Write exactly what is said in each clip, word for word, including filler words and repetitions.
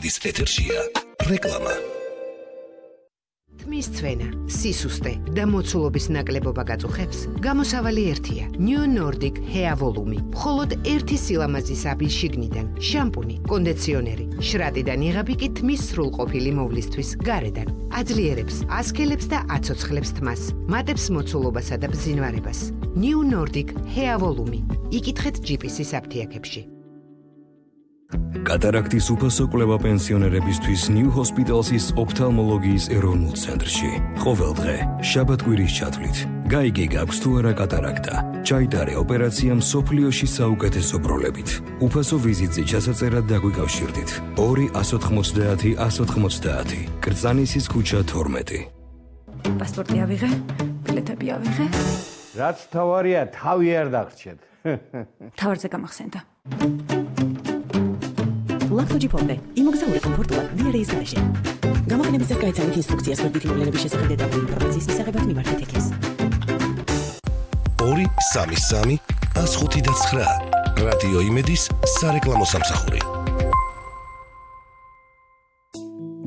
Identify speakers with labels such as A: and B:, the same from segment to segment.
A: დის ეთერშია რეკლამა.
B: თმის წვენა, სისუსტე და მოცულობის ნაკლებობა გაწუხებს, გამოსავალი ერთია. New Nordic Hair Volume. მხოლოდ ერთი სილამაზის აბის შიგნიდან, შამპუნი, კონდიციონერი, შრატიდან იღები კი თმის სრულყოფილი მოვლისთვის გარედან. აძლიერებს, ასქელებს და აცოცხლებს თმას, მატებს მოცულობასა და ბზინვარებას. New Nordic Hair Volume. იკითხეთ ჯიპისის აფთიაქებში.
C: კატარაქტის უფასო კვლევა პენსიონერებისთვის New Hospital's ოფთალმოლოგიის ეროვნულ ცენტრში. ყოველდღე, შაბათ-კვირის ჩათვლით. გაიგე გაქვს თუ არა კატარაქტა. ჩაიტარე ოპერაცია მსოფლიოში საუკეთესო პროლებით. უფასო ვიზიტზე ჩასაწერად დაგვიკავშირდით. ორი ათს ოცდაათი ათს ოცდაათი. კრწანისის ქუჩა თორმეტი.
D: პასპორტი ავიღე, ბილეთები ავიღე.
E: რაც თავარია, თავი არ დაგრჩეთ.
D: თავარზე გამახსენდა.
F: ლაქტოჯიპონდე, იმოგზაურე კომფორტულად დიარეის გარეშე. გამოყენების წესს გაიცანით ინსტრუქციას ვერბითი მოვლენების შესახებ დეტალური ინფორმაციის მისაღებად მიმართეთ ექეს.
A: ორი სამი სამი ას ხუთი და ცხრა. რადიო იმედის სარეკლამო სამსახური.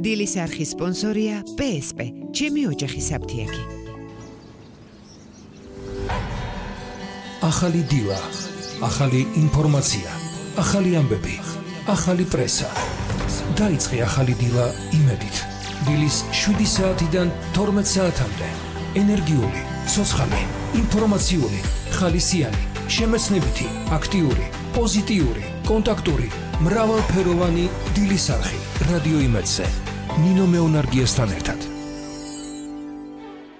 B: დილის არხის სპონსორია პე ეს პე, ჩემი ოჯახის აფთიაქი.
G: ახალი დილა, ახალი ინფორმაცია, ახალი ამბები. ახალი პრესა. დაიწყე ახალი დილა იმედით. დილის შვიდი საათიდან თორმეტ საათამდე. ენერგიული, ცოცხალი, ინფორმაციული, ხალისიანი, შემეცნებითი, აქტიური, პოზიტიური, კონტაქტური, მრავალფეროვანი დილის არხი. რადიო იმედზე. ნინო მეუნარგიესთან ერთად.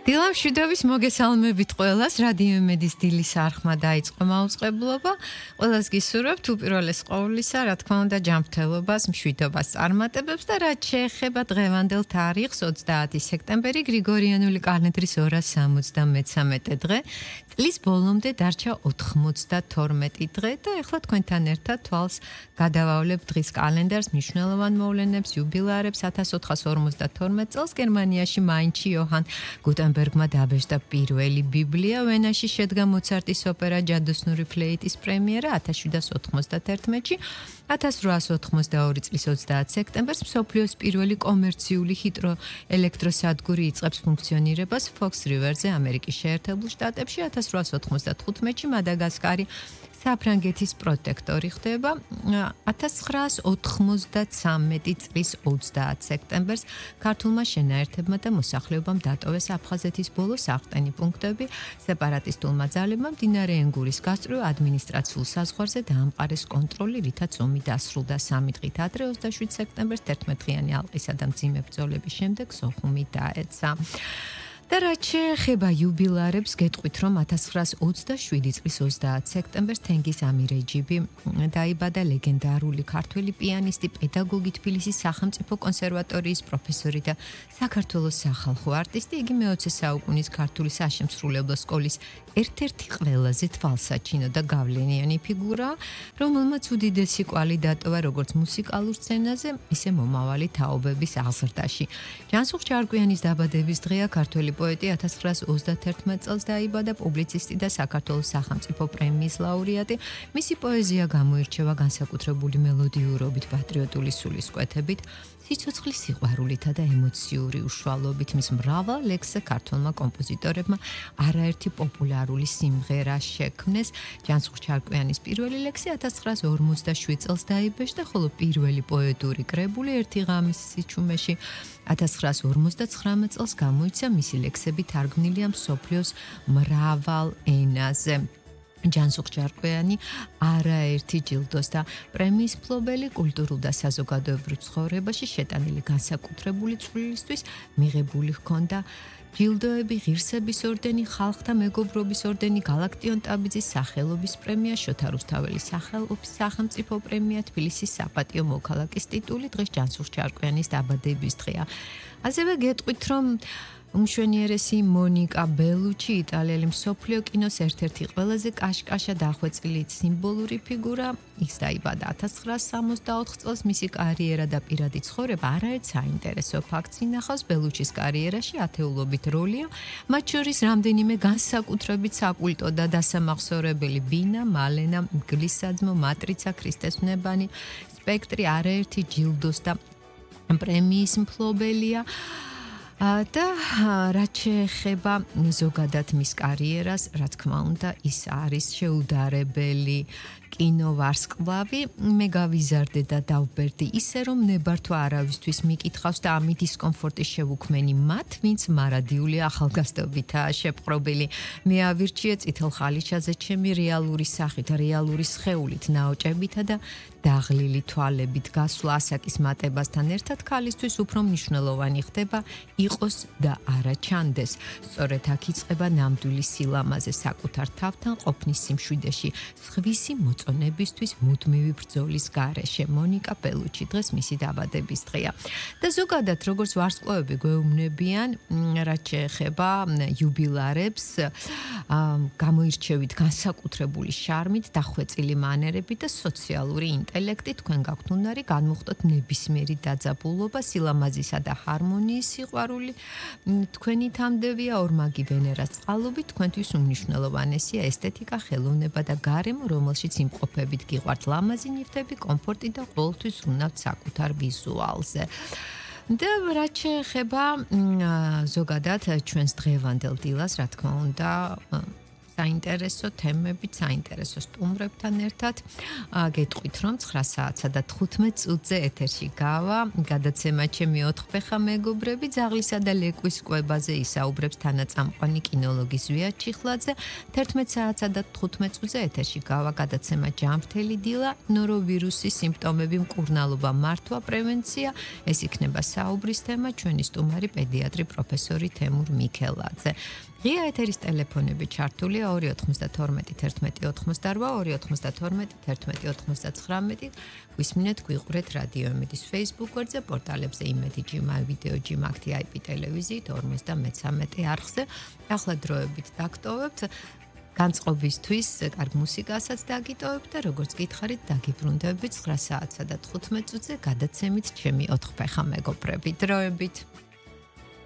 H: დილამ შვიდობის მოგესალმებით ყველას. რადიო იმედის დილის არხმა დაიწყო მაუწყებლობა. ყველას გისურვებთ უპირველეს ყოვლისა, რა თქმა უნდა, ჯანმრთელობას, მშვიდობას წარმატებებს და რაც შეეხება დღევანდელ თარიღს ოცდაათი სექტემბერი გრიგორიანული კალენდრის ორას სამოცდამეცამეტე დღე. წლის ბოლომდე დარჩა ოთხმოცდათორმეტი დღე და ეხლა თქვენთან ერთად თვალს გადავავლებთ დღის კალენდარს, მნიშვნელოვან მოვლენებს, იუბილეარებს. ათას ოთხას ორმოცდათორმეტ წელს გერმანიაში მაინცში იოჰან გუტენბერგმა დაბეჭდა პირველი ბიბლია, ვენაში შედგა მოცარტის ოპერა ჯადოსნური ფლეიტის პრემიერა ათას შვიდას ოთხმოცდაათი. ათას რვაას ოთხმოცდაორი წლის ოცდაათი სექტემბერს მსოფლიოს პირველი კომერციული ჰიდროელექტროსადგური იწყებს ფუნქციონირებას Fox River-ზე, ამერიკის შეერთებულ შტატებში. ათას რვაას ოთხმოცდათხუთში მადაგასკარი საფრანგეთის პროტექტორი ხდება. ათას ცხრაას ოთხმოცდათრამეტი წლის ოცდაათი სექტემბერს ქართულმა შენაერთებმა და მოსახლეობამ დატოვეს აფხაზეთის ბოლო საყრდენი პუნქტები. სეპარატისტულმა ძალებმა მდინარე ენგურის გასწვრივ ადმინისტრაციულ საზღვარზე დაამყარეს კონტროლი, რითაც ომი დასრულდა სამი დღით ადრე ოცდაშვიდი სექტემბერს თერთმეტდღიანი ალყისა და მძიმე ბრძოლების შემდეგ სოხუმი დაეცა. და რაც შეეხება იუბილეარებს, გეტყვით, რომ ათას ცხრაას ოცდაშვიდი წლის ოცდაათი სექტემბერს თენგიზ ამირეჯიბი დაიბადა, ლეგენდარული ქართველი პიანისტი, პედაგოგი, თბილისის სახელმწიფო კონსერვატორიის პროფესორი და საქართველოს სახალხო არტისტი. იგი მეოცე საუკუნის ქართული საშემსრულებლო სკოლის ერთ-ერთი ყველაზე თვალსაჩინო და გავლენიანი ფიგურაა, რომელმაც უდიდესი კვალი დატოვა როგორც მუსიკალურ სცენაზე, ისე მომავალი თაობების აღზრდაში. ჯანსუღ ჯარკვიანის დაბადების დღეა. ქართველი პოეტი ათას ცხრაას ოცდათერთმეტ წელს დაიბადა, პუბლიცისტი და საქართველოს სახელმწიფო პრემიის ლაურეატი. მისი პოეზია გამოირჩევა განსაკუთრებული მელოდიურობით, პატრიოტული სულისკვეთებით, სიცოცხლის სიყვარულითა და ემოციური უშუალობით. მის მრავალ ლექსზე ქართველმა კომპოზიტორებმა არაერთი პოპულარული სიმღერა შექმნეს. ჯანსუღ ჯარკვიანის პირველი ლექსი ათას ცხრაას ორმოცდაშვიდ წელს დაიბეჭდა, ხოლო პირველი პოეტური კრებული ერთი ღამის სიჩუმეში ათას ცხრაას ორმოცდაცხრამეტ წელს გამოიცა. მისი ლექსები თარგმნილია მსოფლიოს მრავალ ენაზე. ჯანსუღ ჯარკვიანი არაერთი ჯილდოს და პრემიის მფლობელი, კულტურულ და საზოგადოებრივ ცხოვრებაში შეტანილი განსაკუთრებული წვლილისთვის მიღებული ჰქონდა ჯილდოები, ღირსების ორდენი, ხალხთა მეგობრობის ორდენი, გალაქტიონ ტაბიძის სახელობის პრემია, შოთა რუსთაველის სახელობის სახელმწიფო პრემია, თბილისის საპატიო მოქალაქის ტიტული. დღეს ჯანსუღ ჯარკვიანის დაბადების დღეა. ასევე გეტყვით, რომ უმშვენიერესი მონიკა ბელუჩი, იტალიელი მსოფლიო კინოს ერთ-ერთი ყველაზე კაშკაშა დახვეწილი სიმბოლური ფიგურა. ის დაიბადა ათას ცხრაას სამოცდაოთხ წელს. მისი კარიერა და პირადი ცხოვრება არაერთ საინტერესო ფაქტს ინახავს. ბელუჩის კარიერაში ათეულობით როლია, მათ შორის რამდენიმე განსაკუთრებით საკულტო და დასამახსოვრებელი ბინა, მალენა, მგლისსაძმო, მატრიცა, ქრისტესვნებანი, სპექტრი, არაერთი ჯილდოს და პრემიის მფლობელია. და რაც შეეხება ზოგადად მის კარიერას, რა თქმა უნდა, ის არის შეუდარებელი კინოვარსკვლავი. მე გავიზარდე და დავბერდი ისე, რომ ნებართვა არავისთვის მიკითხავს და ამით დისკომფორტის შევუქმენი მათ, ვინც მარადიული ახალგაზრდობითაა შეპყრობილი. მე ავირჩიე წითელ ხალიჩაზე ჩემი რეალური სახით, რეალური სხეულით, ნაოჭებითა და დაღლილი თვალებით გასვლა ასაკის მატებასთან ერთად ქალისთვის უფრო მნიშვნელოვანი ხდება იყოს და არა ჩანდეს. სწორედ აქ იწყება ნამდვილი სილამაზე საკუთარ თავთან ყოფნის სიმშვიდეში, სხვისი მოწონებისთვის მუდმივი ბრძოლის გარეშე. მონიკა ბელუჩი დღეს მისი დაბადების დღეა. და ზოგადად როგორც ვარსკვლავები გვეუბნებიან, რაც შეეხება იუბილარებს, გამოირჩევით განსაკუთრებული შარმით, დახვეწილი მანერებით და სოციალური ინტელექტი, თქვენ გაქვთ უნარი განმუხტოთ ნებისმიერი დაძაბულობა, სილამაზისა და ჰარმონიის სიყვარული. თქვენი თამდევია ორმაგი ვენერას წყალობით, თქვენთვის უმნიშვნელოვანესია ესთეტიკა, ხელოვნება და გარემო, რომელშიც იმყოფებით გიყვართ ლამაზი ნივთები, კომფორტი და ყოველთვის ვნავთ საკუთარ ვიზუალზე. და რაც შეეხება ზოგადად ჩვენს დღევანდელ დილას, რა თქმა უნდა, საინტერესო თემებით, საინტერესო სტუმრებთან ერთად გეტყვით, რომ ცხრა საათსა და თხუთმეტ წუთზე ეთერში გავა გადაცემა ჩემი ოთხფეხა მეგობრები, ძაღლისა და ლეკვის კვებაზე ისაუბრებს თანაწამყვანი კინოლოგი ზვია ჩიხლაძე. თერთმეტ საათსა და თხუთმეტ წუთზე ეთერში გავა გადაცემა ჯანმრთელი დილა, ნოროვირუსის სიმპტომები, მკურნალობა, მართვა, პრევენცია. ეს იქნება საუბრის თემა, ჩვენი სტუმარი პედიატრი პროფესორი თემურ მიქელაძე. ღია ეთერის ტელეფონები ჩართულია ორი ოთხმოცდათორმეტი თერთმეტი ოთხმოცდარვა, ორი ოთხმოცდათორმეტი თერთმეტი ოთხმოცდაცხრამეტი. გვისმინეთ, გვიყურეთ რადიო იმედის Facebook გვერდზე, პორტალებზე იმედი ჯიმა, ვიდეო ჯიმა, აქტი აი პი ტელევიზიით ორმოცდამეცამეტე არხზე. ახლა დროებით დაგტოვებთ. განწყობისთვის კარგ მუსიკასაც დაგიტოვებთ და როგორც გითხარით, დაგიბრუნდებით ცხრა საათსა და თხუთმეტ წუთზე გადაცემით ჩემი ოთხფეხა მეგობრები. დროებით.